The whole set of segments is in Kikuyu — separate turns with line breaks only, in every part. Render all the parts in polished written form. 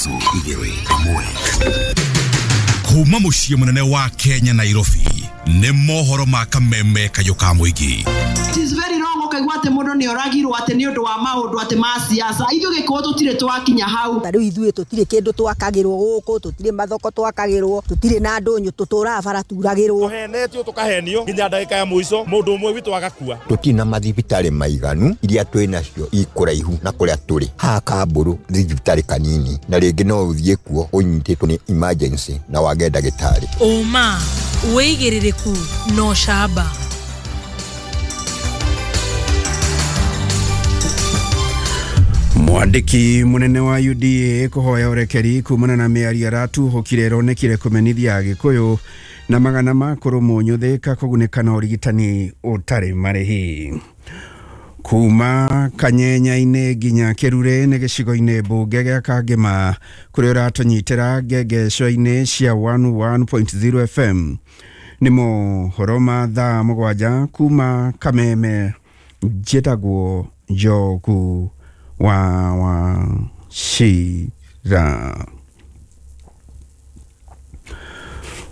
3 2 1. Kuma muciĩ mũnene wa Kenya Nairobi nĩ mohoro ma kameme kayũ ka mũingĩ.
It is very wrong ũkaigua atĩ mũndũ nĩ oragirwo atĩ nĩ ũndũ wa maũndũ atĩ ma siasa. Ithuĩ Gĩkũyũ tũtirĩ twakinya hau.
Ta rĩu ithuĩ tũtirĩ kĩndũ twakagĩrwo gũkũ, tũtirĩ mathoko twakagĩrwo, tũtirĩ na ndũnyũ, tũtũraga bara turagĩrwo.
Tũhenetio tũkahenio nginya ndagĩka ya mũico mũndũ ũmwe witũ agakua.
Tũtirĩ na mathibitarĩ maiganu, iria twĩ nacio ikũraihu na kũrĩa tũrĩ. Haha Kambũrũ thibitarĩ kanini na rĩngĩ no ũthiĩ kuo ũnyitĩtwo nĩ emergency na wage ndagĩtarĩ.
Ũma, wĩigĩrĩrĩku na ũcamba.
Mwandĩki mũnene wa UDA kũhoya ũrekeri kumana na mĩario aratuhũkire ĩronekire kũmenithia Agĩkũyũ na magana ma kũrũmwo nyũthĩka kũgunĩka na ũrigitani ũtarĩ marĩhi. Kuma Kanyenya-inĩ nginya Kĩrure nĩ gĩcigo-inĩ mbunge gĩa Kangema kũrĩa ũratũnyitĩra ngengeco-inĩ cia 101.0 FM. Nĩ mohoro ma thaa 7 kuma Kameme. Njĩtagwo Njogu wa Wachira.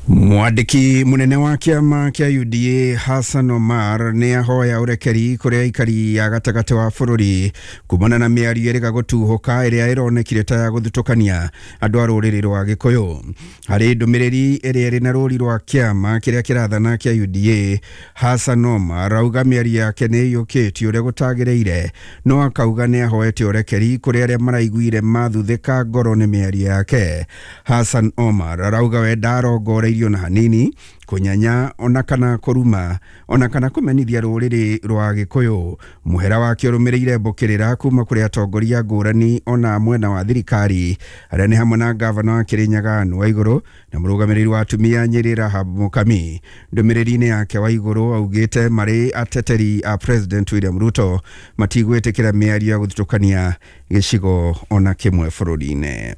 Mwandĩki mũnene wa kĩama kĩa UDA Hassan Omar nĩ ahoya ũrekeri kũrĩ aikari a gatagatĩ wa bũrũri kumana na mĩario ĩrĩga gũtuhũka ĩrĩa ĩronekire ta ya gũthutũkania andũ a rũrĩrĩ rwa Gĩkũyũ. Harĩ ndũmĩrĩri ĩrĩa ĩrĩ na rũri rwa kĩama kĩrĩa kĩrathana kĩa UDA, Hassan Omar auga mĩario yake nĩ ĩiyũkĩtio ũrĩa gũtagĩrĩire, no akauga nĩ ahoete ũrekeri kũrĩ arĩa maraiguire mathuthĩka ngoro nĩ mĩario yake. Hassan Omar arauga we ndarongoreirie na hanini kũnyanya ona kana kũruma ona kana kũmenithia rũrĩrĩ rwa Gĩkũyũ. Mũhera wake ũrũmĩrĩire mbũkĩrĩra kuma kũrĩ atongoria ngũrani ona mwena wa thirikari arĩa nĩ hamwe na gavana wa Kĩrĩnyaga Anne Waigũrũ na mũrũgamĩrĩri wa atumia Nyĩrĩ Rahab Mũkami. Ndũmĩrĩri-inĩ yake Waigũrũ augĩte marĩ ateteri a President William Ruto matigwĩtĩkĩra mĩario ya gũthutũkania gĩcigo ona kĩmwe bũrũri-inĩ.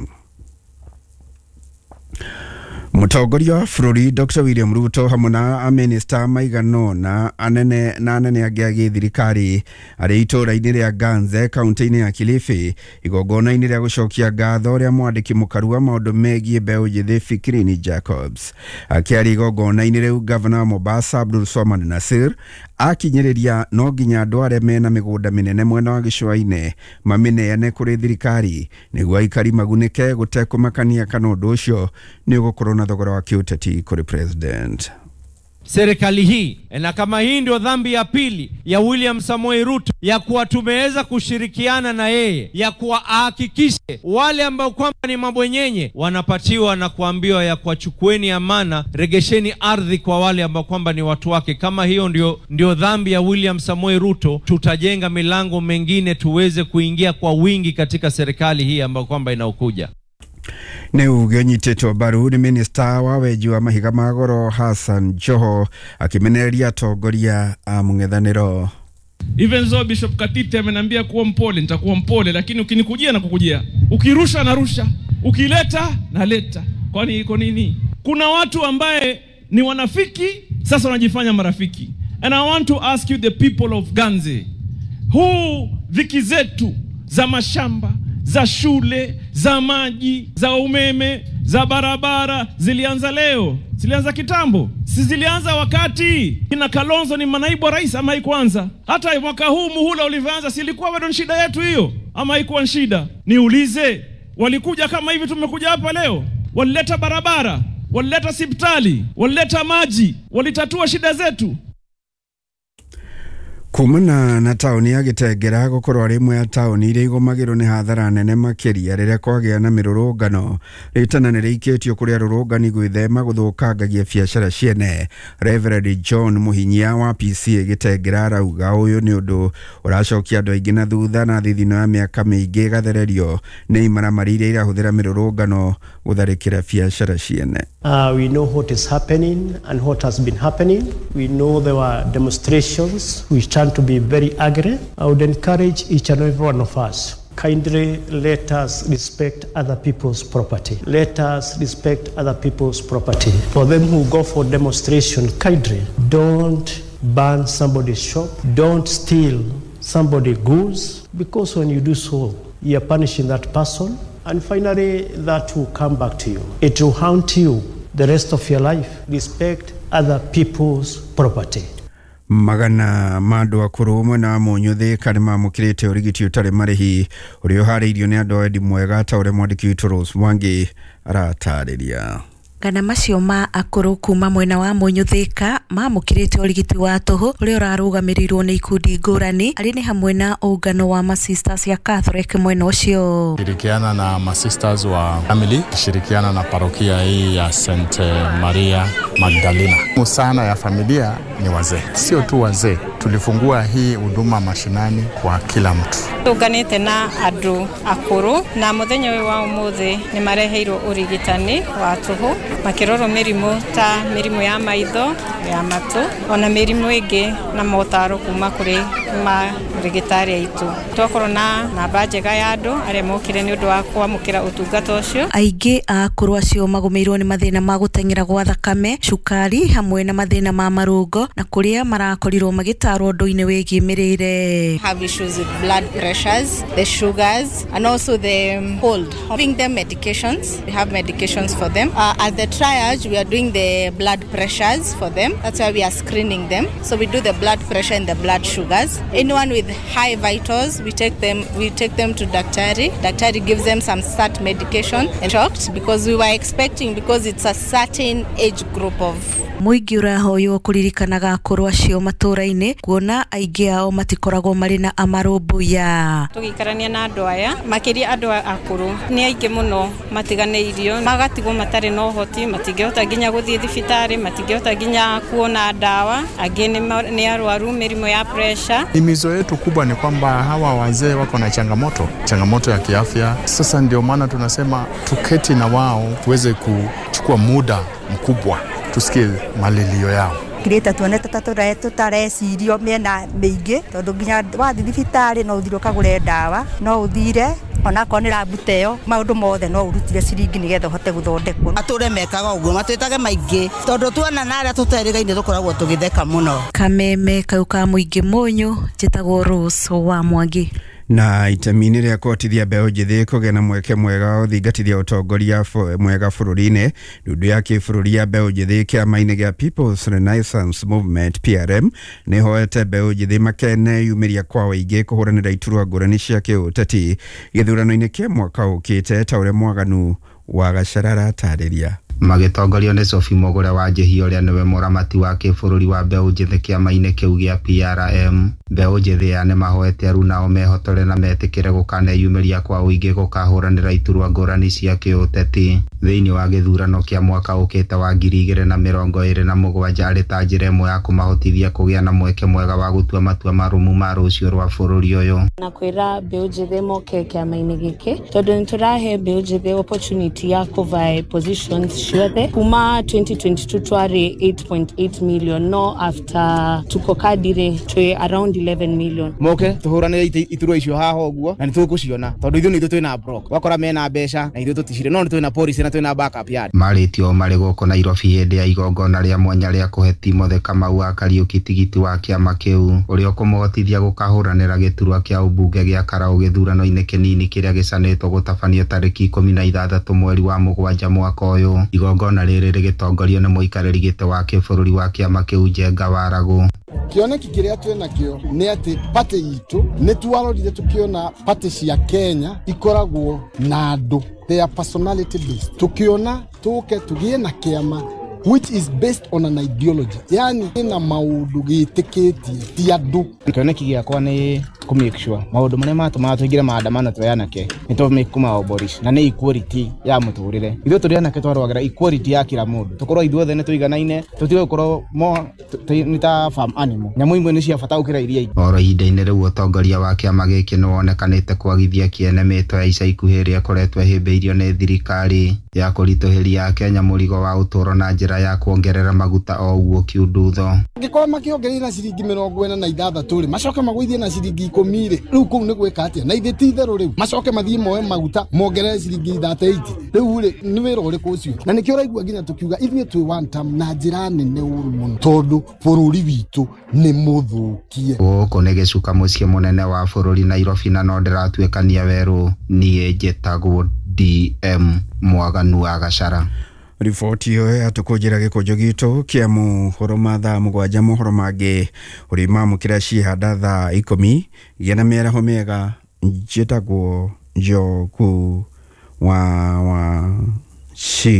Mũtongoria wa bũrũri Dr. William Ruto hamwe na amĩnĩsta maigana ũna anene na anene angĩ a gĩthirikari arĩ itũũra-inĩ rĩa Ganze kaunti-inĩ ya Kilifi igongona-inĩ rĩa gũcokia ngatho rĩa mwandĩki mũkaru wa maũndũ megiĩ mbeũ njĩthĩ Fikirini Jacobs. Akĩaria igongona-inĩ rĩu, gavana wa Mombasa Abdul Swamad Nasir akinyĩrĩria no nginya andũ arĩa mena mĩgũnda mĩnene mwena wa gĩcũa-inĩ mamĩneane kũrĩ thirikari nĩguo aikari magunĩke gũtekũmakania kana ũndũ ũcio nĩ ũgũkorwo na thogora wa kĩũteti kũrĩ president.
Serikali hii, na kama hii ndio dhambi ya pili ya William Samoei Ruto ya kuwa tumeweza kushirikiana na yeye, ya kuwa ahakikishe wale ambao kwamba ni mabwenyenye wanapatiwa na kuambiwa ya kuwa chukueni amana, regesheni ardhi kwa wale ambao kwamba ni watu wake. Kama hiyo ndio dhambi ya William Samoei Ruto, tutajenga milango mengine tuweze kuingia kwa wingi katika serikali hii ambayo kwamba inaokuja.
Nĩ uge ũnyitĩtwo mbaru nĩ minista wa wenji wa mahiga ma goro Hassan Joho akĩmenereria atongoria a mũng'ethanĩro.
Even though Bishop Katiti ameniambia kuwa mpole, nitakuwa mpole, lakini ukinikujia na kukujia, ukirusha narusha, ukileta naleta. Kwani iko nini? Kuna watu ambaye ni wanafiki sasa wanajifanya marafiki. And I want to ask you the people of Ganze, huu dhiki zetu za mashamba, za shule, za maji, za umeme, za barabara zilianza leo? Zilianza kitambo? Si zilianza wakati kina Kalonzo ni manaibu wa rais, ama haikuanza? Hata mwaka huu muhula ulivyoanza, si ilikuwa bado shida yetu hiyo, ama haikuwa shida? Niulize, walikuja kama hivi tumekuja hapa leo? Walileta barabara, walileta hospitali, walileta maji, walitatua shida zetu?
Kumana na taũni ya Gĩtengera gũkorwo arĩ ĩmwe ya taũni iria igũmagĩrwo nĩ hathara nene makĩria rĩrĩa kwagĩa na mĩrũrũngano. Rĩtana nĩ rĩikĩtio kũrĩ arũrũngani gwĩthema gũthũkangagia biacara ciene. Reverend John Mũhinyia wa PCA Gĩtengera arauga ũyũ nĩ ũndũ ũracokia andũ aingĩ na thutha na thithino ya mĩaka mĩingĩ ĩgathererio nĩ imaramari iria irahũthĩra mĩrũrũngano gũtharĩkĩra biacara ciene.
We know what is happening and what has been happening. We know there were demonstrations which turned to be very angry. I would encourage each and every one of us, kindly let us respect other people's property. Let us respect other people's property. For them who go for demonstration, kindly don't burn somebody's shop, don't steal somebody's goods, because when you do so, you are punishing that person. And finally, that will come back to you. It will haunt you the rest of your life. Respect other people's property.
Magana ma andũ akũrũ mwena wa Mũnyũ Thĩka nĩmamũkĩrĩte ũrigiti ũtarĩ marĩhi ũrĩa ũharĩirio nĩ andũ a wendi mwega ta ũrĩa mwandĩki witũ Rose Mwangi aratarĩria.
Magana macio ma akũrũ kuma mwena wa Mũnyũ Thĩka mamũkĩrĩte ũrigiti wa tũhũ ũrĩa ũrarũgamĩrĩirwo nĩ ikundi ngũrani arĩ nĩ hamwe na ũngano wa masisters ya Catholic mwena ũcio.
Shirikiana na masisters wa family, shirikiana na parokia hii ya St Maria Magdalena. Sana ya familia ni wazee, sio tu wazee. Tulifungua hii huduma mashinani kwa kila mtu.
Tunganite na andu akuru na muthenya uyu wa umuthi ni mareheirwo urigitani wa tuhu makirorwo mirimu ta mirimu ya maitho ya matu ona mirimu ingi na motaro kuma kuri marigitari aitu. Twakorwo na namba njega ya andu aria mokire ni undu wa kwamukira utungata ucio.
Aingĩ a akũrũ acio magũmĩirwo nĩ mathĩna ma gũteng'era gwa thakame, cukari hamwe na mathĩna ma marũngo na kũrĩa marakorirwo magĩtarwo ũndũ-inĩ wĩgiĩ mĩrĩre.
Have issues with blood pressures, the sugars and also the cold. Having them medications, we have medications for them. At the triage we are doing the blood pressures for them. That's why we are screening them. So we do the blood pressure and the blood sugars. Anyone with high vitals, we take them to daktari. Daktari gives them some start medication and shocked because we were expecting, because it's a certain age group of
Mũingĩ ũrahoywo kũririkanaga akũrũ acio matũra-inĩ kuona aingĩ ao matikoragwo marĩ na amarũmbũiya.
Tũgĩikarania na andũ aya makĩria andũ akũrũ nĩ aingĩ mũno matiganĩirio magatigwo matarĩ na ũhoti, matingĩhota nginya gũthiĩ thibitarĩ, matingĩhota nginya kuona ndawa, angĩ nĩ arwaru mĩrimũ ya pressure.
Himizo yetu kubwa ni kwamba hawa wazee wako na changamoto ya kiafya. Sasa ndio maana tunasema tuketi na wao tuweze kuchukua muda mkubwa tusikie malilio yao.
Kireta tuonete ta tũtarecirio mĩena mĩingĩ tondũ nginya wathiĩ thibitarĩ no ũthire ũkagũre ndawa, no ũthire onakorwo nĩ rabu ta ĩyo, maũndũ mothe no ũrutire ciringi nĩgetha ũhote gũthondekwo.
Atũre mekaga ũguo matwĩtage maingĩ tondũ tuona na arĩa tũterĩgaine tũkoragwo tũgĩtheka mũno.
Kameme kau ka mũingĩ Mũnyũ, njĩtagwo Rose wa Mwangi.
Na itemi-inĩ rĩa kũhotithia mbeũ njĩthĩ kũgĩa na mweke mwega wa gũthingatithia ũtongoria mwega bũrũri-inĩ, ndundu ya kĩbũrũri ya mbeũ njĩthĩ kĩama-inĩ gĩa People's Renaissance Movement PRM nĩhoete mbeũ njĩthĩ makeneyumĩria kwa ũingĩ kũhũranĩra iturwa ngũrani cia kĩũteti gĩthurano-inĩ kĩa mwaka ũkĩte ta ũrĩa Mwaganu wa Gacara aratarĩria.
Magĩtongorio nĩ Sophie Mũgũre wa Njĩhi ũrĩa nĩwe mũramati wa kĩbũrũri wa mbeũ njĩthĩ kĩama-inĩ kĩu gĩa PRM. Mbeũ njĩthĩ aya nĩmahoete aruna mehotore na metĩkĩre gũkaneyumĩria kwa ũingĩ gũkahũranĩra iturwa ngũrani cia kĩũteti thĩinĩ wa gĩthurano kĩa mwaka ũkĩte wa 2027 arĩ ta njĩra ĩmwe ya kũmahotithia kũgĩa na mweke mwega wa gũtua matua marũmu ma rũciũ rwa bũrũri ũyũ.
Na kwĩra mbeũ njĩthĩ moke kĩama-inĩ gĩkĩ tondũ nĩtũrahe mbeũ njĩthĩ opportunity ya kũvae positions ciothe. Kuma 2022 twarĩ 8.8 million, no after tuko kadire twĩ around 11 million.
Moke tũhũranĩre iturwa icio haha ũguo na nĩtũgũciona tondũ ithuĩ nĩ ithuĩ twĩna block, wakora mena mbeca na ithuĩ tũticire, no nĩ twĩna policy na twĩna backup yard.
Marĩtio marĩ gũkũ Nairobi hĩndĩ ya igongona rĩa mwanya rĩa kũhe Timothy Kamau wa Kariuki tigiti wa kĩama kĩu ũrĩa ũkũmũhotithia gũkahũranĩra gĩturwa kĩa ũmbunge gĩa Karau gĩthurano-inĩ kĩnini kĩrĩa gĩcanĩtwo gũtabanio tarĩki 16 mweri wa mũgwanja mwaka ũyũ. Igongona rĩrĩ rĩgĩtongorio nĩ mũikarĩri gĩtĩ wa kĩbũrũri wa kĩama kĩu Njenga Waragũ.
Kĩoneki kĩrĩa twĩ nakĩo nĩ atĩ party itũ nĩ twarorire tũkĩona party cia Kenya ikoragwo na andũ, they are personality based. Tukiona tũke tũgĩe na kĩama which is based on an ideology, yani ina maũndũ gĩtĩkĩtie ti andũ.
Kĩoneki gĩakwa nĩ kũ make sure maũndũ marĩa matũmaga tũingĩre maandamano twĩ anake nĩ tũ kũmaabolish, na nĩ equality ya mũtũrĩre. Ithuĩ tũrĩ anake twarũagĩra equality ya kila mũndũ, tũkorwo ithuothe nĩ tũiganaine, tũtige gũkorwo nĩ ta farm animal, nyamũ imwe nĩ cia bata gũkĩra iria ingĩ.
Oro ihinda-inĩ rĩu ũtongoria wa kĩama gĩkĩ nĩ wonekanĩte kwagithia kĩene mĩto ya ica ikuhĩ ĩrĩa ĩkoretwo ĩhĩmbĩirio nĩ thirikari ya kũritũhĩria Akenya mũrigo wa ũtũũro na njĩra ya kuongerera maguta o ũguo kiundutho.
Angĩkorwo makĩongereire na ciringi 46 rĩ, macoke magũithie na ciringi 10 rĩ, rĩu kũu nĩ gwĩka atĩa? Na ithe ti itherũ rĩu macoke mathiĩ moe maguta mongerere ciringi 38 rĩu rĩ, nĩ wĩra ũrĩkũ ũcio? Na nĩkĩo ũraigua nginya tũkiuga ithuĩ twĩ one term na njĩra nene ũru mũno tondũ bũrũri witũ nĩ mũthũkie.
Gũkũ nĩ gĩcuka mũciĩ mũnene wa bũrũri Nairobi, na no ndĩratuĩkania werũ. Niĩ njĩtagwo ODM Mwaganu wa Gachara.
Riboti ĩyo yatũkũnjĩra gĩkũnjo gitũ kĩa mohoro ma thaa 7, mohoro mangĩ ũrĩmamũkĩra ciĩhanda thaa 10. Gĩa na mĩaraho mĩega. Njĩtagwo Njogu wa Wachira.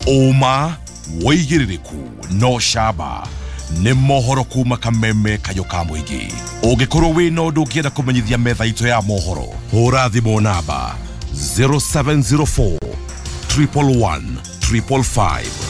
Ũma wĩigĩrĩrĩku no camba nĩ mohoro kuma kameme kayũ ka mũingĩ. Ũngĩkorwo wĩna ũndũ ũngĩenda kũmenyithia metha itũ ya mohoro, hũra thimũ namba 0704 111 555.